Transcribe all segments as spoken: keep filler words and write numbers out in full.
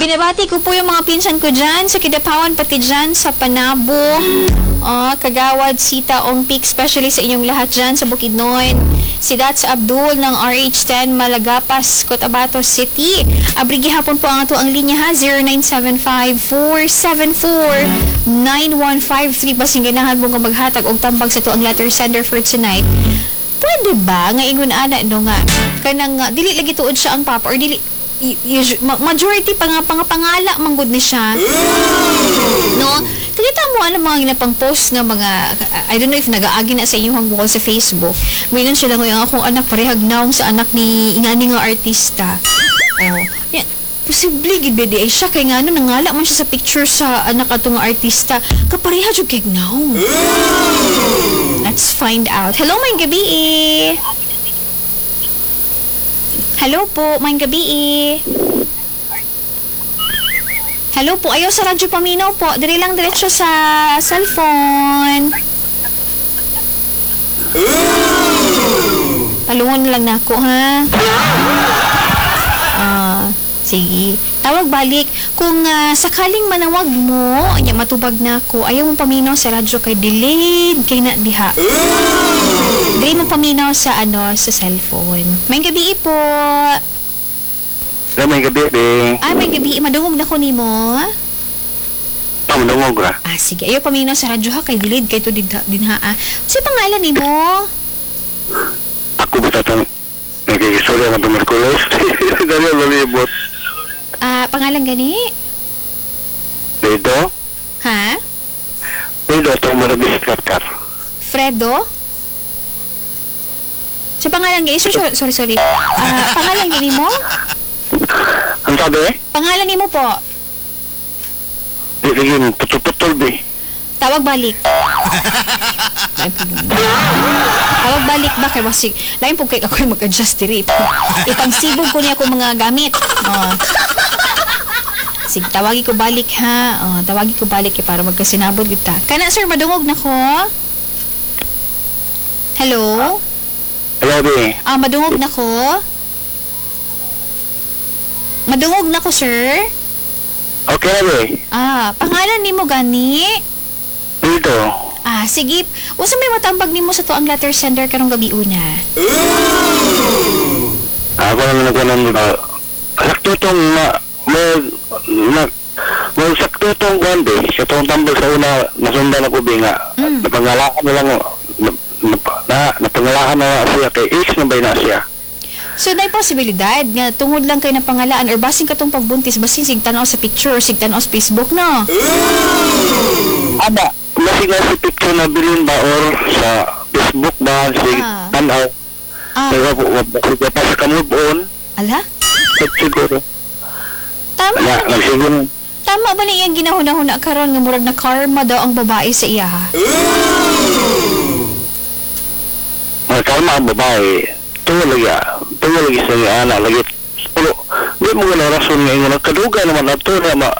Binabati ko po yung mga pinsan ko dyan sa Kidapawan, pati dyan sa Panabo, ah, Kagawad, Sita, Ongpik, especially sa inyong lahat dyan sa Bukidnon. Si Dats Abdul ng R H ten Malagapas, Cotabato City. Abri gihapon po ang ato ang linya ha, zero nine seven five, four seven four, nine one five three. Basin ganahan mo nga maghatag og tambag sa ato ang letter sender for tonight. Pwede ba nga ingon ana, no, nga kanang uh, dili lagi tuod siya ang papa or dili y- usu- ma- majority pa nga pangapangala manggod ni siya, no? Kita mo ano mga ginapang post nga mga, I don't know if nagaagi na sa inyong wall sa Facebook. Mayroon sila nga, "Akong anak parehag naong sa anak ni ingani nga artista." Oh yan, posible gid ba di ay siya kay ngano nangala man siya sa picture sa anak ato nga artista, kapareha jud kay naong. Let's find out. Hello, maayong gabi eh. Hello po, maayong gabi eh. Hello po, ayaw sa radyo paminaw po. Diri lang diretso sa cellphone. Palungon lang nako ha. Ah, sige. Tawag balik. Kung ah, sakaling manawag mo, nya matubag na ako, ayaw mo paminaw sa radyo kay delayed kay na diha. Diri mo paminaw sa ano, sa cellphone. Maayong gabi po. Hello, maayong gabi, be. Ay, maayong gabi. Madungog na ko nimo. Ah, madungog ra. Ah, sige. Ayaw paminaw sa radyo ha, kay delayed kay to din, din ha. Ah. Sa pangalan nimo? Ako ba tatang nagkikistorya ng tuberculosis? Dali, malibot. Ah, pangalan gani? Pedro? Ha? Pedro, itong marabis karkar. Fredo? Sa pangalan gani? Sorry, sorry, sorry. Ah, pangalan gani mo? Ang sabi? Pangalan nimo po? Di, sige, putol-putol, be. Tawag balik. Lain po. Tawag balik ba kay basig. Lain po kay ako mag-adjust diri. Ipangsibog ko niya akong mga gamit. Oh. Sige, tawagi ko balik ha. Oh, tawagi ko balik kay para magkasinabot kita. Kana sir, madungog na ko. Hello? Hello, be. Ah, madungog na ko. Madungog na ko, sir. Okay na, be. Ah, pangalan nimo gani? Dito. Ah, sige. Unsa may matambag nimo sa to ang letter sender karong gabi una? Ako naman nagkanan, uh, sakto itong ma, ma, na, ma, sakto itong kuwan, be. Sa itong tambal sa una, nasundan ako, be, nga. Mm. Napangalakan na lang, na, na, na, napangalakan na siya kay ex na ba na siya? So, naay posibilidad nga tungod lang kay napangalaan or basin katong pagbuntis, basin sig tan-aw sa picture or sig tan-aw sa Facebook, no? Aba, masig na si picture na bilin ba or sa Facebook ba, si Ah. tanaw. Ah, Pero sige pa sa ka-move on, ala? siguro. Tama Na, ba ni, nagsiguro. tama ba ni iyang ginahuna-huna karon nga murag na karma daw ang babae sa iya ha? Mga kalma ang babae, tungo lagi, ah, tungo lagi sa iya, anak, lagi, pero, di mo gana rason nga ingon, kaduga naman ato na ma,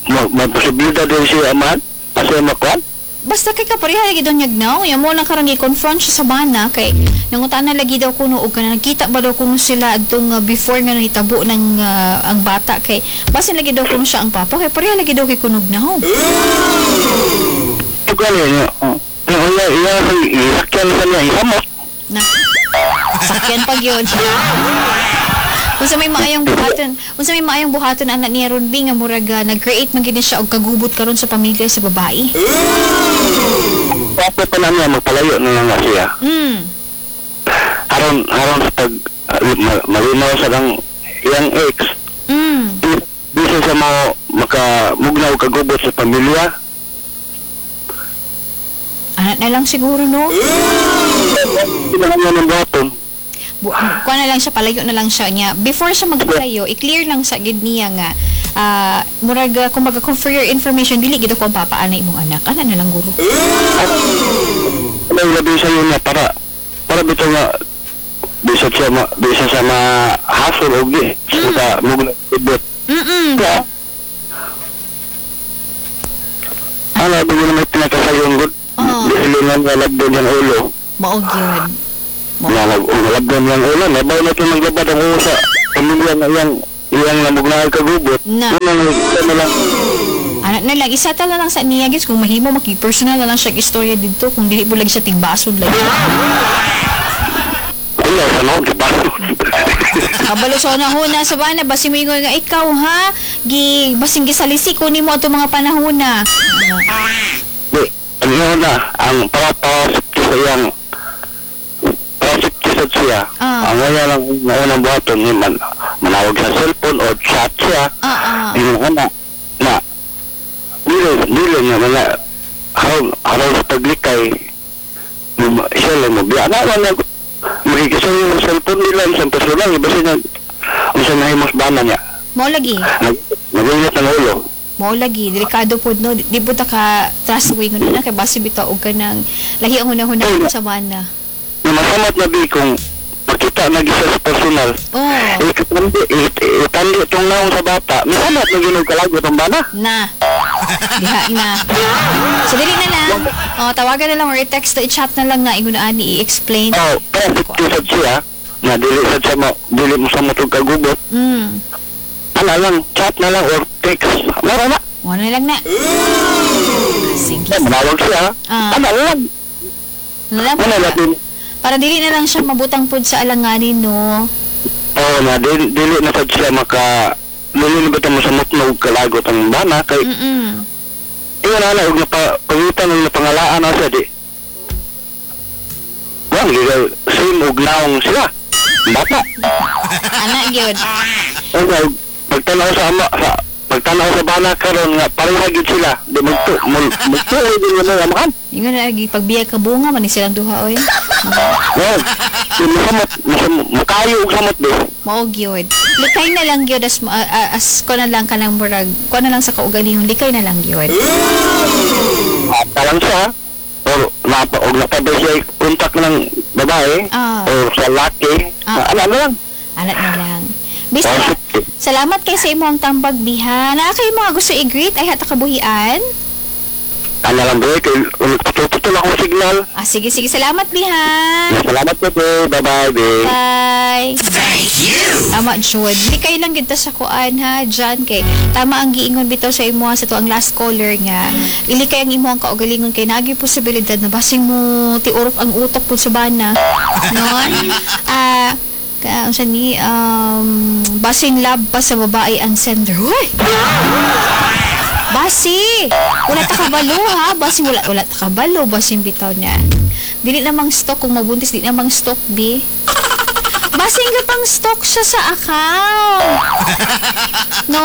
ma, ma posibilidad din siya amahan, asa makuan? Basta kay kapareha lagi daw niyag now, ya mo lang karon gi-confront siya sa bana kay nangutana lagi daw kuno og kana nagkita ba daw kuno sila adtong uh, before nga nahitabo ng uh, ang bata kay basin lagi daw kuno siya ang papa kay pareha lagi daw kay kunog now. Ugali niya, oh. Iya, iya, isakyan sa niya, isamot. Na. Sakyan pag yun. Unsa may maayong buhaton, unsa may maayong buhaton anak niya ron bi nga murag uh, nag-create man gid ni siya og kagubot karon sa pamilya sa babae? Dapat pa na niya, magpalayo na lang na siya. Mm. Aron, aron sa pag, uh, ma- malinaw sa lang iyang ex, Mm. di- di siya sa mo makamugnaw kagubot sa pamilya. Anak na lang siguro, no? Hindi na niya ng buhaton. Bu- kuha na lang siya, palayo na lang siya niya. Before siya magpalayo, i-clear lang sa gid niya nga ah murag uh, kumbaga kung for your information, dili gid ako ang papa ana imong anak. Ana na lang guro. Ano labi sa iyo niya para para bitaw nga bisa siya ma, bisa siya ma-hassle og di sa mugnaw kagubot. Mm. Kaya, ano, di mo naman pinakasayon gud. Oo. Di sila nga nalabdon yung ulo. Mao gyud. Mao. Nalag, nalabdon yung ulo. Nabaw na ito maglabad ang ulo sa pamilya nga iyang iyang namugnahay kagubot. Na. Unang isa na lang. Ano na lang, isa ta na lang sa niya guys, kung mahimo maki-personal na lang siya istorya dito kung dili mo lagi siya tigbason lagi. Wala sa noon, di ba? Kabalo sa una sa bana basin mo ingon nga ikaw ha, gi basin gisalisi ko nimo ato mga panahona. Ano? Di, ang yun na, ang para para sa iyang para sa siya. Ah. Ang wala lang na unang buhaton ni man, manawag sa cellphone o chat siya. Ah, ah. Yung na, na, dili, dili niya, wala, haron, haron sa paglikay, mo- siya lang mo, biya na, wala, magigisa yung cellphone nila, isang personal, iba siya, ang sa nahimos bana niya, Mao lagi. nag, naginit ng ulo. Mao lagi, delikado pod no, di po ta ka trust way ngun na kay basi bitaw og kanang lahi ang hunahuna sa bana. Na masamot na bi kung makita na gisa sa personal, Oh, itandi, itandi itong naong sa bata, masamot na ginog kalagot ang bana. na. Diha na. So dili na lang. Oh, tawagan na lang or i-text o i-chat na lang na ingon ani i-explain. Oh, pero sad siya, na dili sad siya mo, dili mo sa motog kagubot, Mm. ana lang, chat na lang or text, mara na. Wala na lang na. Sige. Eh, manawag siya. Ah. Ana lang. Na lang Ana para, lang. para dili na lang siya mabutang pod sa alanganin no. Oh, na dili, dili na sad siya maka dili na ba mo sa mutnog kalagot ang bana kay Mm. iyon ana og napa pangitan og napangalaan na siya di. Wang gigay same og naong sila. Bata. Ana gyud. Okay, pagtanaw sa ama sa pagtanaw sa bana karon nga pareha gyud sila di magtu magtu din mo na amahan. Ingon na lagi pagbiya ka bunga man ni silang duha oy. Well, di masamot masamot makayo og samot di. Mao gyud. Likay na lang gyud as ah, ah, as ko na lang kanang murag ko na lang sa kaugalingon likay na lang gyud. Ata lang siya or napa og napabay siya kontak ng babae Ah. or sa laki. Ah. Ano ano lang. Alat na lang. Bisa, Oh, salamat kay sa imong tambag biha. Naa kay mga gusto i-greet ay hata kabuhian. Ano lang bro, kay putol-putol akong signal. Ah, sige sige salamat biha. Salamat po po. Bye-bye, babe. Bye. Tama, Jud. Likay lang gid ta sa kuan ha, John kay tama ang giingon bitaw sa imo sa to ang last caller nga. Ilikay ang imo ang kaugalingon kay nagi posibilidad na basing mo tiurok ang utok pud sa bana. No? Ah, ka unsa ni um basing love pa sa babae ang sender. Hoy! Basi! Wala ta kabalo ha. Basi wala wala ta kabalo basin bitaw na. Dili namang stock kung mabuntis di namang stock bi. Basin ka pang stock siya sa account. No?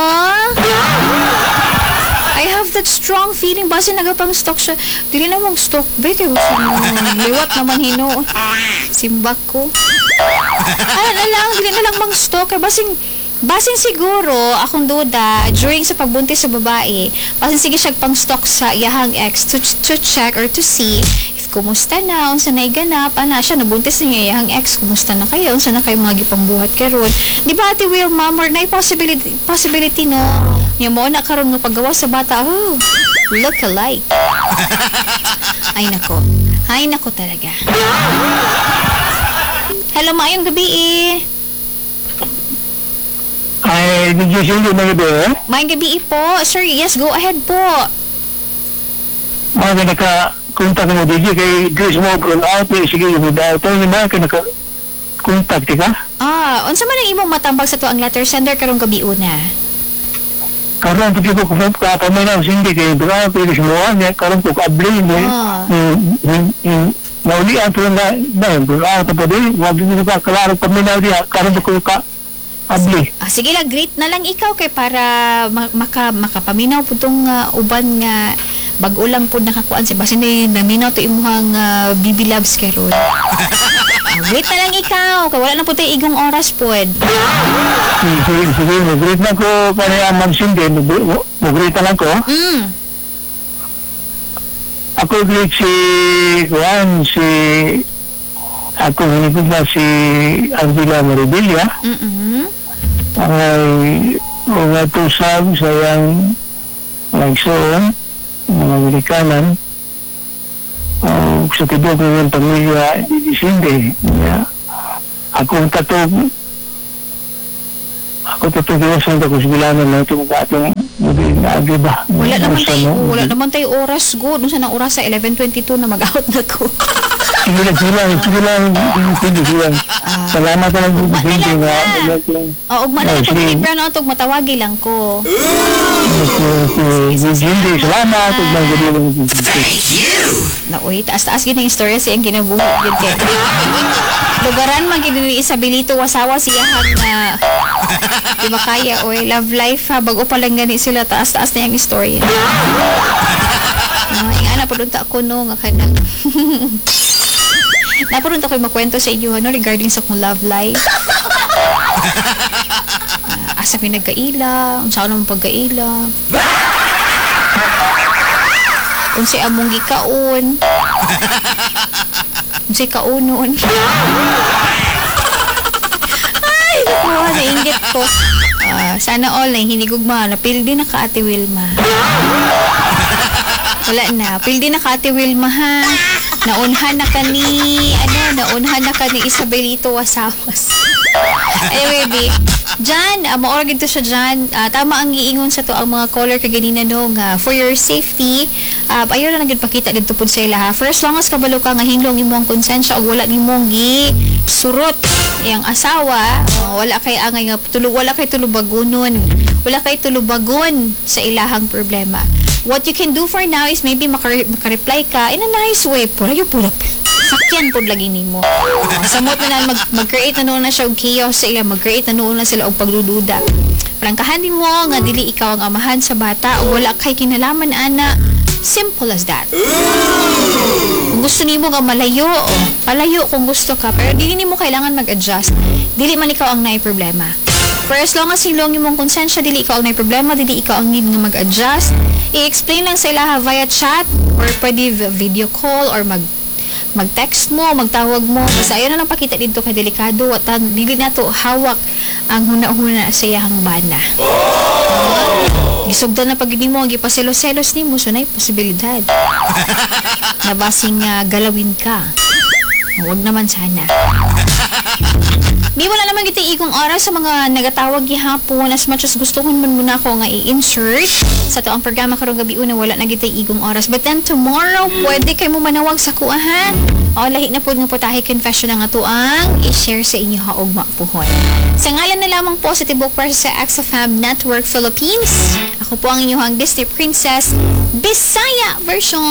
I have that strong feeling basin naga pang stock siya. Dili namang stock be kay gusto mo liwat naman hino. Simbak ko. Ano na lang, dili na lang mang stock kay basin basin siguro akong duda during sa pagbuntis sa babae, basin sige siya pang stock sa iyahang ex to, to check or to see if kumusta na, unsa na iganap, ana siya nabuntis niya iyahang ex, kumusta na kayo, unsa na kayo mga gipangbuhat karon. Di ba Ate Wilma, more na possibility possibility no. Nya mo na karon nga paggawa sa bata, oh, look alike. Ay nako. Ay nako talaga. Hello, maayong gabi eh. Ay, did you see the mga be? Maayong gabi po. Sir, yes, go ahead po. Mga ka naka-contact mo D J kay Grace mo brown out eh, sige, mo daw ito na ka naka-contact ka. Ah, unsa man ang imong matambag sa to ang letter sender karong gabi una? Karon pag ko kung ka pa may nang sindi kay brown out eh, mo niya karon ko kaabli mo. Ah. Nauli ang na na brown out pa din, wag din ka klaro pa may diya karon ko ka abli. Ah, sige lang, greet na lang ikaw kay para ma- maka makapaminaw pud tong ah, uban nga bag-o lang pud nakakuan sa basin ni naminaw to imuhang uh, B B Loves karon. Ah, greet na lang ikaw kay wala na pud tay igong oras pod. Sige, sige, mo-greet na ko kaya Ma'am Cindy, mo-greet na lang ko. Mm. Ako greet si Juan, si ako hinigod na si Angela Maribilla, Mm. ay mga tusab sa iyang nagsuon, mga Amerikanan, o sa tibok ng pamilya ni Cindy. Yeah. Akong katog Ako to twenty years old ako, sigurado na ito kung atong hindi naagi ba. Wala naman Basta tayo, mo, wala naman tayo oras go. Doon sa nang oras sa eleven twenty-two na mag-out na ko. Sige lang, sige lang, sige lang, sige, sige lang. Salamat na lang, Ugma na sige lang nga. na. O, ugma na Oh, lang pag sige. brown out, og matawagi lang ko. Sige, sige, salamat. Ug gabi lang. Na uy, taas-taas gid ang istorya sa iyang kinabuhi gid kay. Lugaran man gid ni Isabelito Wasawa siyahang na di ba kaya, oy, love life ha, bago pa lang gani sila, taas-taas na yung istorya. Uh, ingana pa unta ako no nga kanang Napurunta ko makwento sa inyo ano regarding sa akong love life. Uh, asa mi nagkaila, unsa naman pagkaila. Unsay among gikaon. Unsay kaunon. Ay, naku, nainggit ko. Ah, sana all na hinigugma na pildi na ka, Ate Wilma. Wala na. Pildi na ka, Ate Wilma, ha. Naunhan na ka ni, ano, naunhan na ka ni Isabelito Wasawas. Anyway, B. Jan, uh, maora gid to siya Jan. Ah, tama ang giingon sa to ang mga caller kaganina no nga for your safety, uh, ayaw na lang gid pakita didto pud sa ila ha. For as long as kabalo ka nga hinlong imong konsensya ug wala nimong gi surot iyang asawa, oh, wala kay angay nga tulo, wala kay tulubagunon. Wala kay tulubagon sa ilahang problema. What you can do for now is maybe maka- maka-reply ka in a nice way. Pura yung pura sakyan pod lagi nimo. Oh, samot na na mag, mag-create na noon na siya og chaos sa ila, mag-create na noon na sila og pagdududa. Prangkahan nimo nga dili ikaw ang amahan sa bata o wala kay kinalaman ana. Simple as that. Kung gusto nimo nga malayo, oh, palayo kung gusto ka, pero dili nimo kailangan mag-adjust. Dili man ikaw ang naay problema. For as long as hilong imong konsensya, dili ikaw ang naay problema, dili ikaw ang need nga mag-adjust. I-explain lang sa ilaha via chat or pwede v- video call or mag mag-text mo, magtawag mo. Basta ayaw na lang pakita dito kay delikado at dili na to hawak ang huna-huna sa iyahang bana. Gisugdan na pag mo, gipaselos-selos nimo, so naay posibilidad na basing ah, galawin ka. Huwag naman sana. Di wala naman kita igong oras sa mga nagatawag gihapon, as much as gustuhon man muna ako nga i-insert sa to ang programa karong gabi una, wala na kita igong oras. But then tomorrow, pwede kay mo manawag sa kuha ha. O lahi na pud nga putahe confession ang ato ang i-share sa inyo ha ugma puhon. Sa ngalan na lamang po sa Tibok Press sa X F M Network Philippines. Ako po ang inyong Disney Princess Bisaya version.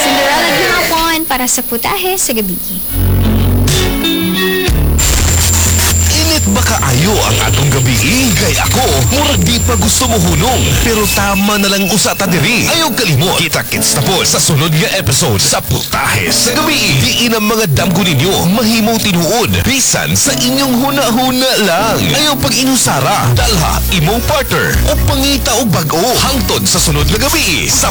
Cinderella gihapon para sa Putahe sa Gabi. Init ba kaayo ang atong gabi? Kay ako, murag di pa gusto mo hunong. Pero tama na lang usa ta diri. Ayaw kalimot. Kita-kits na po sa sunod nga episode sa Putahe sa Gabi. Diin ang mga damgo ninyo mahimong tinuod. Bisan sa inyong huna-huna lang. Ayaw pag inusara. Dalha imong partner o pangita og bag-o. Hangtod sa sunod nga gabi. Sa